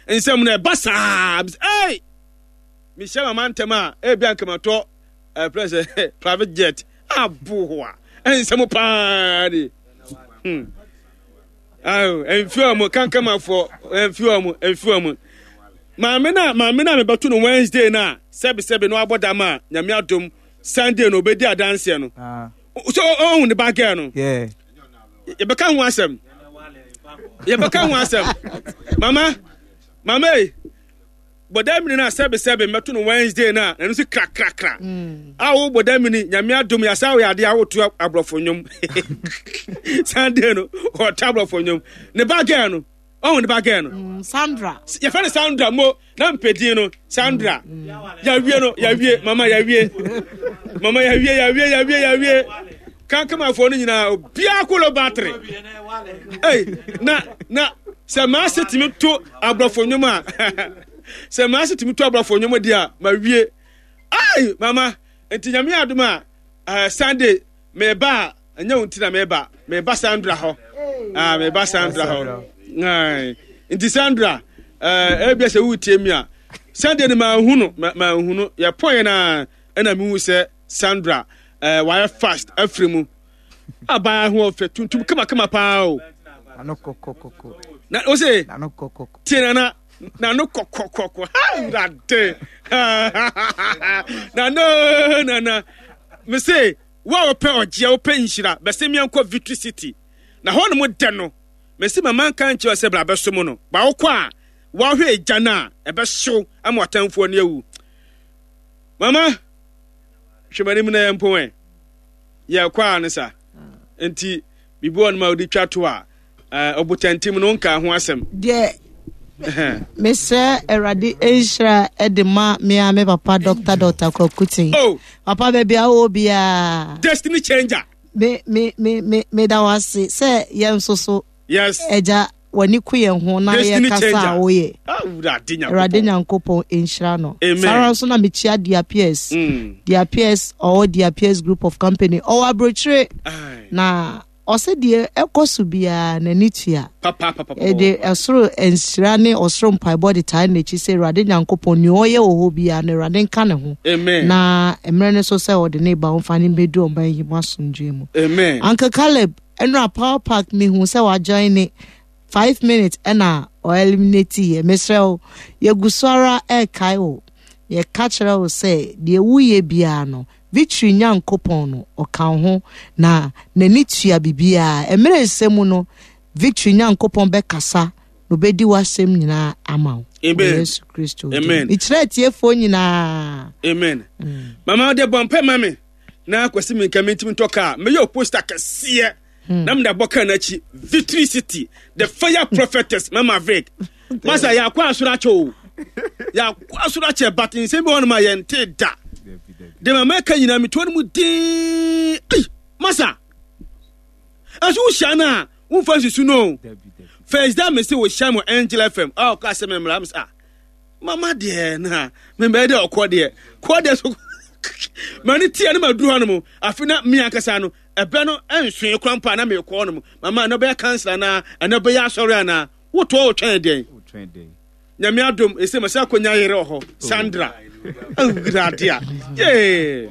Nsɛm no ɛba saa. Ei! Mehyia mama ntɛm a, ebi anka matɔ ɛfrɛ sɛ private jet aboa. Nsɛm paa ni. Ayo, mfi wɔn kankamafoɔ, mfi wɔn, mfi wɔn. Maame na mebɛto no Wednesday na sɛbi sɛbi no abɔ dam a, Nyame adom, Sunday no obedi adanseɛ no. Ah. So ɔhu ne ba girl no. Yeah. Yɛbɛka ho asɛm. Yɛbɛka ho asɛm. Mama, mama yi, bɔda mini na sɛbi sɛbi mɛto no Wednesday na ɛno nso kra kra kra. A wo bɔda mini, Nyame adom, yasa wo yɛ adeɛ a woto aborɔfo nnwom. Sunday no, ɔto aborɔfo nnwom. Ne ba girl no, ɔhu ne ba girl no. Sandra. Yɛfrɛ no Sandra mo na mpɛdin no Sandra. Yɛawie no, yɛawie, mama yɛawie. Mama yɛawie, yɛawie, yɛawie, yɛawie. Kankamafoɔ no nyinaa, obiara kolo battery. Ei, na sɛ maase tumi to aborɔfo nnwom a, sɛ maase tumi to aborɔfo nnwom deɛ a, mawie. Ai, mama, nti Nyame adom a, Sunday, meba a, ɛnyɛ wo nti na meba, meba Sandra hɔ. Ah, meba Sandra hɔ. Ai, nti Sandra, ebia sɛ woretie mi a, Sunday no manhu no, manhu no. Yɛpɔn na ɛna mehu sɛ Sandra, wayɛ fast afiri mu. Abaa ho ɔfɛ tuntum kama kama paa o. Nano kɔkɔkɔkɔ. Na o se Nano kɔkɔkɔ. Tie nana nano kɔkɔkɔkɔ. Ha wurade. Nano nana. Me se wo a wopɛ ɔgyeɛ, wopɛ nhyira, bɛsɛ miɛnkɔ Victory City. Na hɔ nom dɛ no, me se mama nka nkyerɛ sɛ bra bɛso mu no. Ba wokɔ a, woahwɛ egya no a, ɛbɛhyew ama w'atamfoɔ ani awu. Mama, hwɛ m'anim na yɛmpɔn ɛ. Yɛkɔ a ne sa. Nti, biribi wɔ no ma wode twa to a, ɔbotantim no nka ho asɛm. Deɛ mesrɛ Awurade nhyira de ma me a me papa Dr. Kwakutin. Oh. Papa, baabi a wowɔ biara. Destiny changer. Me me me me meda wo ase sɛ yɛn nso so. Yes. Ɛgya w'ani ku yɛn ho na Destiny yɛkasa changer. a woyɛ. Ah, Awurade Nyankopɔn. Awurade Nyankopɔn nhyira no. Amen. Saa ara nso na mekyia Dia Pierce. Dia Pierce, ɔwɔ Dia Pierce Group of Company. Ɔwɔ aburokyire. Aye. Na ɔsɛ deɛ ɛkɔ so biara n'ani tua. Papa, papa, papa. Ɛde ɛsoro nhyira ne ɔsoro mpaebɔ de taa n'akyi sɛ Awurade Nyankopɔn nea ɔyɛ wɔ hɔ biara no Awurade nka ne ho. Amen. Na mmerɛ no so sɛ ɔde ne ba ɔmfa ne mbɛdu ɔman yi mu asomdwoe mu. Amen. Uncle Caleb, ɛnora Power Park mehu sɛ wajoin ne 5 minutes ɛna ɔeliminate yɛ. Mesrɛ wo, yɛgu so ara ɛrekae wo, yɛka kyerɛ wo sɛ deɛ woyɛ biara no, Victory Nyankopɔn no ɔka wo ho na n'ani tua biribiara. Mmerɛ nsɛm mu no, Victory Nyankopɔn bɛkasa na obɛdi w'asɛm nyinaa ama wo. Amen. Yesu Kristo din. Amen. Mekyerɛ atiefoɔ nyinaa. Amen. Mama, wode bɔ mpɛ ma me na Kwasi mi nka mentimi ntɔ kaa, meyɛ o poster kɛseɛ na mede abɔ kaa no akyi, Victory City, the fire prophetess Mama Vic. Masa, yɛakɔ asoro akyɛ o, yɛakɔ asoro akyɛ, but nsɛm bi wɔ hɔ nom a yɛnte da de mama ɛka nyinaa metoɔ no mu din. Ei, masa, ɛso wohyia no a womfa nsusu no o. First da me se wohyia mu Angel FM a ɔka sɛ memmra me sɛ, ah, mama deɛ na membɛyɛ dɛ ɔkɔ deɛ kɔ deɛ so mane tia no maduru hɔ no mu. Afe na me ankasa no ɛbɛ no ɛnsoe kora mpo a na mekɔ hɔ no mu. Mama, ɛno bɛyɛ council anaa ɛno bɛyɛ asɔre anaa wotoɔ wotwɛn dɛn? Nyame adom, ɛsɛ masɛ akɔnya yere wɔ hɔ, Sandra. Awurade a yee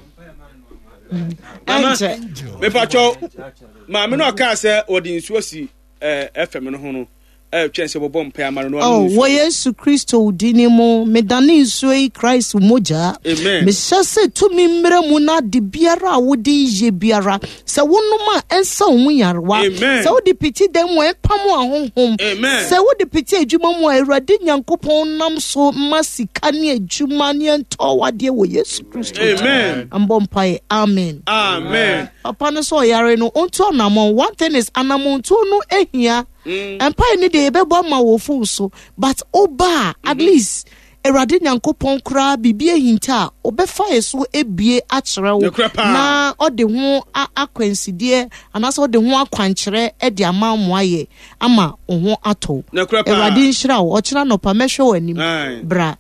mama. Ɛnkyɛ. Mepatwɔ maame no ɔkaa sɛ wɔde nsuo asi ɛfɛm no ho no, ɛtwɛn sɛ wɔbɔ mpae ama no na Oh, ɔnom nsuo. Wɔ Yesu Kristo wo din mu, medane nsuo yi Christ mogya. Amen. Mehyɛ sɛ tumi mmerɛ mu na ade biara a wode yɛ biara, sɛ wonom a ɛnsa wo mu nyarewa. Amen. Sɛ wode piti dan mu a ɛmpam ahonhom. Amen. Sɛ wode piti adwuma mu a, Awurade Nyankopɔn nam so ma sika ne adwuma ne ɛntɔ wadeɛ wɔ Yesu Kristo din. Amen. Mbɔ mpaeɛ. Amen. Amen. Papa no sɛ ɔyare no, ɔntu anammɔn. One thing is, anammɔntuo no ahia. Mpaeɛ no deɛ yɛbɛbɔ ama wɔ phone so, but woba a, at least Awurade Nyankopɔn koraa biribi ahinta a ɔbɛfa yɛ so ebie akyerɛ wo Nokorɛ paa. na ɔde ho akwansideɛ anaasɛ ɔde ho akwankyerɛ de ama mo ayɛ ama wo ho atɔ wo. Nokorɛ paa. Awurade nhyira wo. Ɔkyena nɔpa mɛhwɛ w'anim. Aye. Bra.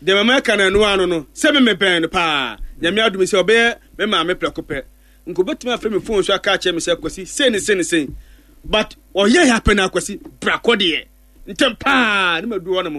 Deɛ mama ɛka no ɛno ano no sɛ me mebɛn no paa. Nyame adom sɛ ɔbɛyɛ me maame prɛko pɛ nka obɛtumi afrɛ me phone so aka akyerɛ me sɛ Kwasi sei ne sei ne sei, but ɔyɛ yɛ apɛ no, Akwasi bra kɔ deɛ ntɛm paa ne madu hɔ nom.